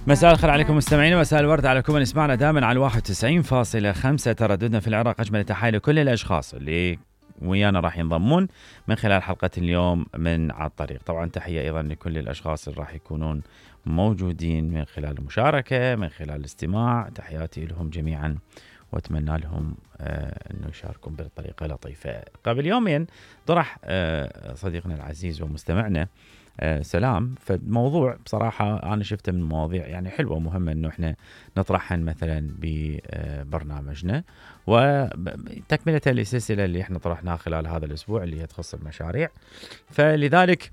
مساء الخير عليكم مستمعينا، مساء الورد على كل من يسمعنا دائما على 91.5 ترددنا في العراق. أجمل تحية لكل الأشخاص اللي ويانا راح ينضمون من خلال حلقة اليوم من على الطريق. طبعا تحية أيضا لكل الأشخاص اللي راح يكونون موجودين من خلال المشاركة، من خلال الاستماع. تحياتي لهم جميعا وأتمنى لهم أنه يشاركون بطريقة لطيفة. قبل يومين طرح صديقنا العزيز ومستمعنا سلام، فالموضوع بصراحة أنا شفته من المواضيع يعني حلوة ومهمة أنه إحنا نطرحها مثلا ببرنامجنا، وتكملة للسلسلة اللي إحنا طرحناها خلال هذا الأسبوع اللي هي تخص المشاريع. فلذلك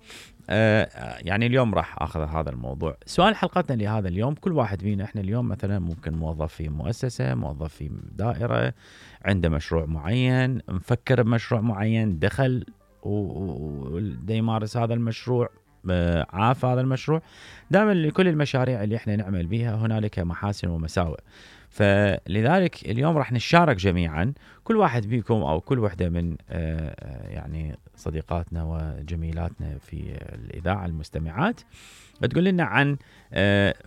يعني اليوم راح أخذ هذا الموضوع. سؤال حلقتنا لهذا اليوم: كل واحد فينا إحنا اليوم مثلا ممكن موظف في مؤسسة، موظف في دائرة، عنده مشروع معين، مفكر بمشروع معين، دخل ودا يمارس هذا المشروع، عاف هذا المشروع. دائما لكل المشاريع اللي احنا نعمل بها هنالك محاسن ومساوئ. فلذلك اليوم راح نشارك جميعا، كل واحد بيكم او كل وحده من يعني صديقاتنا وجميلاتنا في الإذاعة المستمعات بتقول لنا عن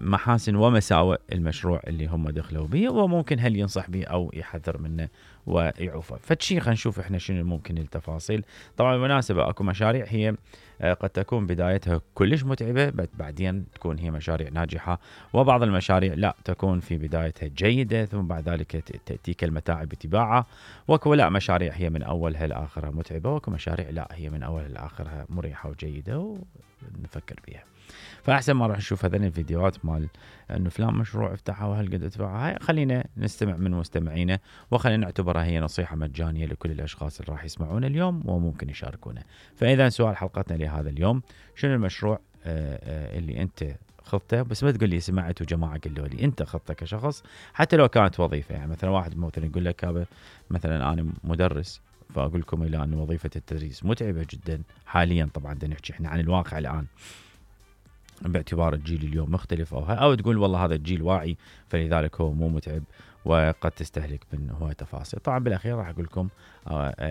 محاسن ومساوئ المشروع اللي هم دخلوا به، وممكن هل ينصح به او يحذر منه ويعوفه. فشي خلينا نشوف احنا شنو ممكن التفاصيل. طبعا بالمناسبة اكو مشاريع هي قد تكون بدايتها كلش متعبة، بعدين تكون هي مشاريع ناجحة، وبعض المشاريع لا تكون في بدايتها جيدة ثم بعد ذلك تأتيك المتاعب بتباعها. وكو لا مشاريع هي من أولها لآخرها متعبة، وكو مشاريع لا هي من أولها لآخرها مريحة وجيدة ونفكر بها. فأحسن ما راح نشوف هذين الفيديوهات مال أنه فلان مشروع افتحه وهل قد ادفعه، هاي خلينا نستمع من مستمعينا وخلينا نعتبرها هي نصيحة مجانية لكل الأشخاص اللي راح يسمعون اليوم وممكن يشاركونا. فإذا سؤال حلقتنا لهذا اليوم: شنو المشروع اللي أنت خطته؟ بس ما تقول لي سمعت وجماعة قالوا لي، أنت خطتك كشخص حتى لو كانت وظيفة. يعني مثلا واحد مثلا يقول لك هذا مثلا أنا مدرس، فأقول لكم إلى أن وظيفة التدريس متعبة جدا حاليا. طبعا بدنا نحكي إحنا عن الواقع الآن باعتبار الجيل اليوم مختلف، أو تقول والله هذا الجيل واعي فلذلك هو مو متعب وقد تستهلك من هواية تفاصيل. طبعا بالأخير راح أقول لكم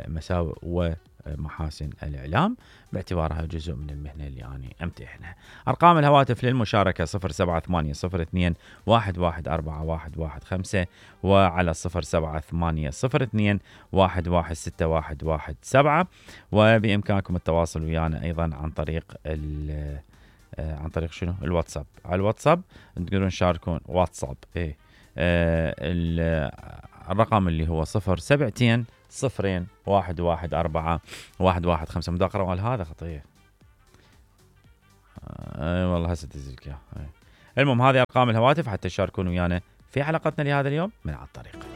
مساوئ ومحاسن الإعلام باعتبارها جزء من المهنة اللي أنا أمتحنها. أرقام الهواتف للمشاركة 0780211415 وعلى 0780211617، وبإمكانكم التواصل ويانا أيضا عن طريق شنو؟ الواتساب. على الواتساب تقدرون تشاركون واتساب الرقم اللي هو 072-0114-115. مداقرة وال هذا خطية والله هسه تزلك يا. المهم هذه أرقام الهواتف حتى تشاركون ويانا في حلقتنا لهذا اليوم من على الطريق.